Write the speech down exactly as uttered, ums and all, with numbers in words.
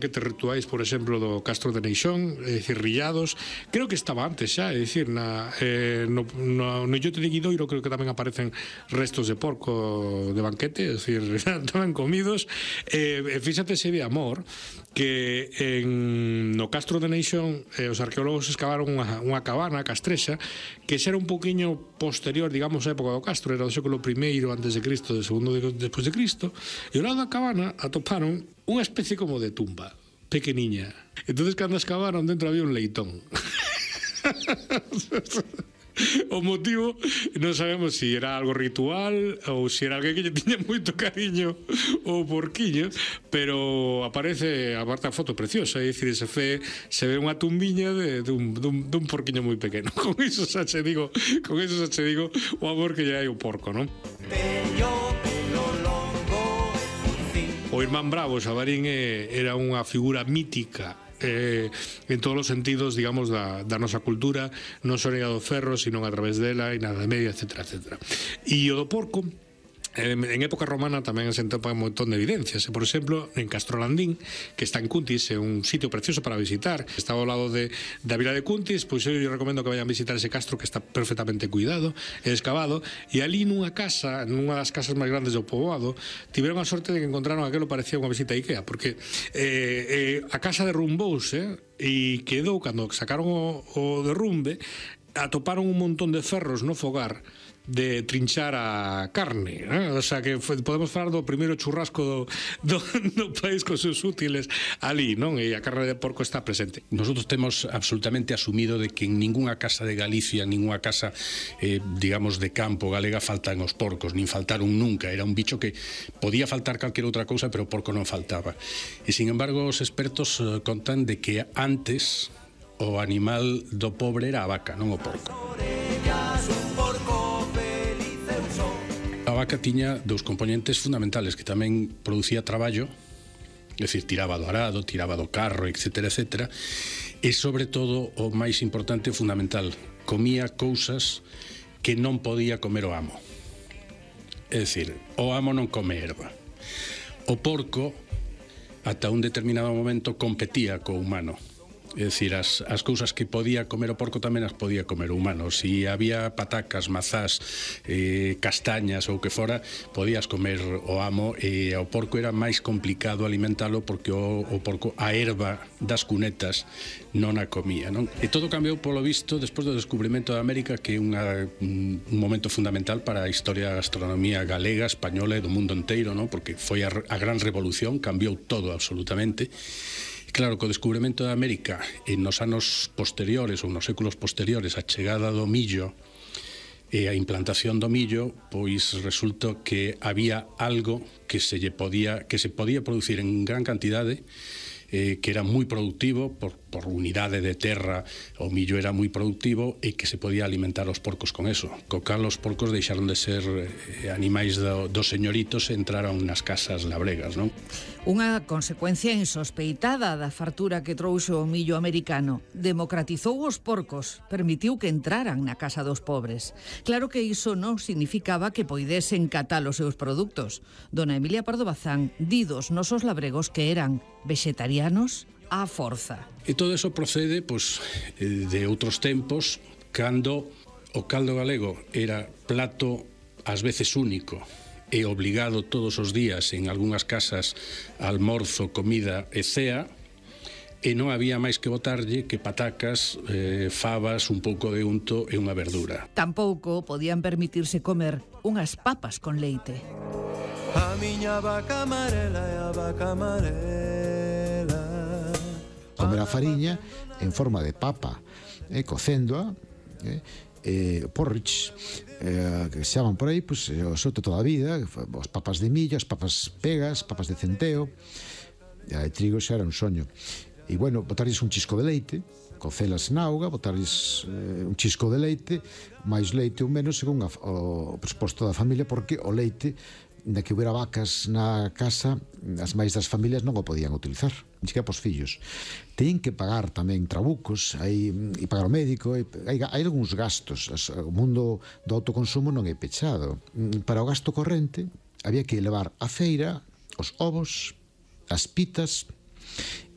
Que te rituais, por exemplo, do Castro de Neixón, é dicir, rillados, creo que estaba antes xa, é dicir, na, eh, no, no, no Illote de Guidoiro creo que tamén aparecen restos de porco de banquete, é dicir, tamén comidos, e eh, fíxate se de amor, que en, no Castro de Neixón eh, os arqueólogos escavaron unha, unha cabana castrexa, que xa era un poquinho posterior, digamos, á época do Castro, era do século primeiro antes de Cristo, de segundo de, despois de Cristo, e ao lado da cabana atoparon unha especie como de tumba pequeniña. Entonces, cando excavaron, dentro había un leitón. O motivo non sabemos se si era algo ritual ou se si era alguén que lle tiña moito cariño ou porquiño, pero aparece a parte a foto preciosa, é dicir, se fe, se ve unha tumbiña de, de, un, de, un, de un porquiño moi pequeno. Con iso xa che digo, con iso xa che digo o amor que lle hai o porco, non? O irmán Bravo, Xabarín, era unha figura mítica eh, en todos os sentidos, digamos, da, da nosa cultura, non só en do ferro, sino a través dela, e na Edade Media, etcétera, etcétera. E o do porco, en época romana tamén se atopa un montón de evidencias. Por exemplo, en Castrolandín, que está en Cuntis, é un sitio precioso para visitar, está ao lado de, da vila de Cuntis, pois eu recomendo que vayan a visitar ese castro, que está perfectamente cuidado e excavado, e ali nunha casa, nunha das casas máis grandes do poboado, tiveron a sorte de que encontraron aquilo parecía unha visita a Ikea, porque eh, eh, a casa derrumbouse e quedou, cando sacaron o, o derrumbe, atoparon un montón de ferros no fogar de trinchar a carne, eh? O sea que foi, podemos falar do primeiro churrasco do, do, do país con seus útiles ali, non? E a carne de porco está presente. Nosotros temos absolutamente asumido de que en ninguna casa de Galicia, en ninguna casa, eh, digamos, de campo galega faltan os porcos, nin faltaron nunca. Era un bicho que podía faltar calquera outra cousa, pero o porco non faltaba. E, sin embargo, os expertos eh, contan de que antes o animal do pobre era a vaca, non o porco. A vaca tiña dous componentes fundamentales, que tamén producía traballo, é dicir, tiraba do arado, tiraba do carro, etcétera, etcétera, e sobre todo, o máis importante e fundamental, comía cousas que non podía comer o amo. É dicir, o amo non come erva. O porco, ata un determinado momento, competía co humano. É dicir, as, as cousas que podía comer o porco tamén as podía comer o humano. Si había patacas, mazás, eh, castañas ou que fora, podías comer o amo, e o porco era máis complicado alimentalo, porque o, o porco, a erva das cunetas, non a comía, non? E todo cambiou, polo visto, despois do descubrimento de América, que é unha, un momento fundamental para a historia da gastronomía galega, española e do mundo inteiro, non? Porque foi a, a gran revolución, cambiou todo absolutamente. Claro, co descubrimento de América, en nos anos posteriores ou nos séculos posteriores, a chegada do millo e a implantación do millo, pois resulta que había algo que se lle podía que se podía producir en gran cantidade, eh, que era moi productivo por, por unidade de terra. O millo era moi productivo e que se podía alimentar os porcos con eso, co cal os porcos deixaron de ser eh, animais do, dos señoritos e entraron nas casas labregas, non? Unha consecuencia insospeitada da fartura que trouxo o millo americano. Democratizou os porcos, permitiu que entraran na casa dos pobres. Claro que iso non significaba que poidesen catar os seus produtos. Dona Emilia Pardo Bazán di dos nosos labregos que eran vegetarianos á forza. E todo eso procede, pois, de outros tempos, cando o caldo galego era plato ás veces único e obligado todos os días en algunhas casas, almorzo, comida e cea, e non había máis que botarlle que patacas, eh, fabas, un pouco de unto e unha verdura. Tampouco podían permitirse comer unhas papas con leite. A miña vaca amarela e a vaca amarela. Comer a fariña en forma de papa, eh, cocéndoa, eh, eh, porridge, eh, que se chaman por aí, pues, eh, o soto toda a vida, as papas de millo, as papas pegas, papas de centeo, e a de trigo xa era un soño. E, bueno, botarles un chisco de leite, cocelas na auga, botarles eh, un chisco de leite, máis leite ou menos, según a, o presposto da familia, porque o leite, na que houbera vacas na casa, as máis das familias non o podían utilizar, ni siquiera pos fillos. Teñen que pagar tamén trabucos, hai, e pagar o médico, e, hai, hai algúns gastos. O mundo do autoconsumo non é pechado. Para o gasto corrente, había que levar a feira os ovos, as pitas